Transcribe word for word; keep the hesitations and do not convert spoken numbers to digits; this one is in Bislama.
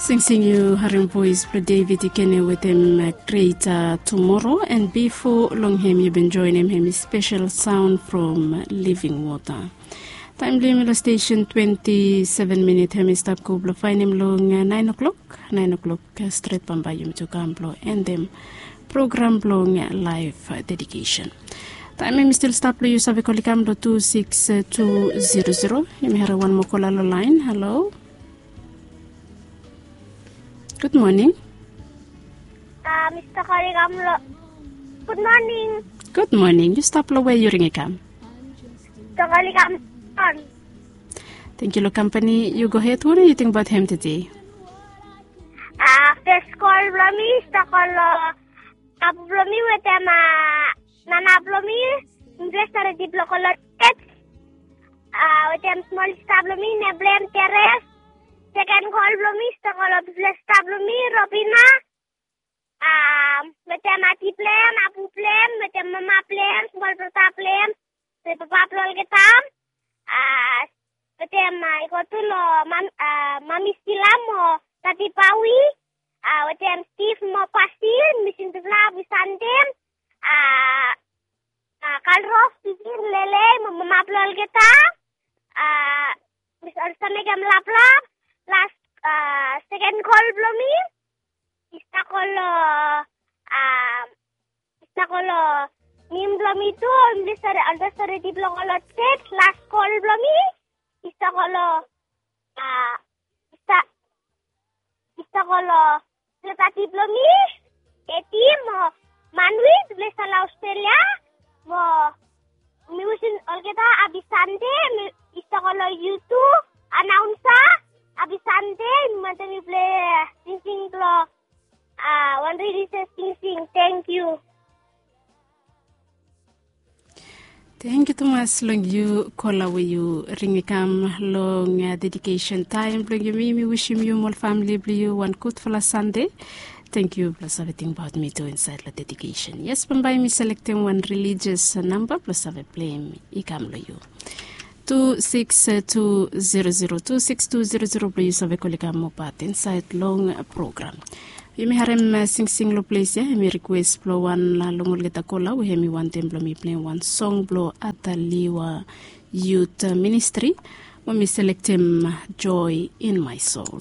Singsing yu harim voes blong David Ikene wetem Greater Tomorrow, and bifo long hem yu bin joenem hem i spesel saon from Living Water. Taem blong yumi long stesen twenti seven minit hem i stap go blong faenem long naen o'klok. Naen o'klok stret bambae yumi tu kam blong endem program blong laef dedikesen. Taem hem i stil stap blong yu save kol i kam long tu siks tu zero zero. Yumi harim wan moa kola long laen. Halo. Gud moning. Mista Kolikam lo. Gud moning. Gud moning. Yu stap long we yu ring i kam? Mista Kolikam. Tengkiu long kampani. Yu gohed. Wanem yu ting abaot hem tede? Fes kol blong mi i stap kol long papa blong mi wetem mama blong mi. Mifala i stap redi blong go long jej. Wetem smol sista blong mi, nem blong hem Teres. Seken kol blong mi i stap kol long bigfala sista blong mi Robina. Wetem anti blong hem, abu blong hem, wetem mama blong hem, smol brata blong hem, wetem papa blong olgeta. Wetem i go tu long mami Stila mo dadi Pawi. Wetem Stiv mo Pasil, mi wisim bigfala hapi Sande. Kalros, Pisin, Lele mo mama blong olgeta. Mi olsem mekem laplap. Las, seken kol blong mi i stap kol long, i stap kol long nem blong mi tu. Olsem redi blong go long jej. Las kol blong mi i stap kol long, i stap, i stap kol long bigfala dadi blong mi Eti mo Manwi, bigfala i stap long Australia. Mo mi wisim olgeta hapi Sande. Mi stap kol long yu tu, anaonsa, hapi Sande. Mi wantem yu pilei singsing blong wan relijias singsing. Tengkiu. Tengkiu tumas long yu kola we yu ring i kam long dedikesen taem blong yumi. Mi wisim yu mo ol famili blong yu wan gudfala Sande. Tengkiu blong save tingbaot mi tu insaed long dedikesen. Yes, bambae mi selektem wan relijias namba blong save pleim i kam long yu. Tu siks tu zero zero, tu siks tu zero zero blong yu save kol i kam moa pat insaed long program. Yumi harem singsing long ples ya, hemi rikwes blong wan long olgeta kola we hemi wantem blong mi pleim wan song blong Ataliwa Yut Ministri, we mi selektem Joy in My Soul.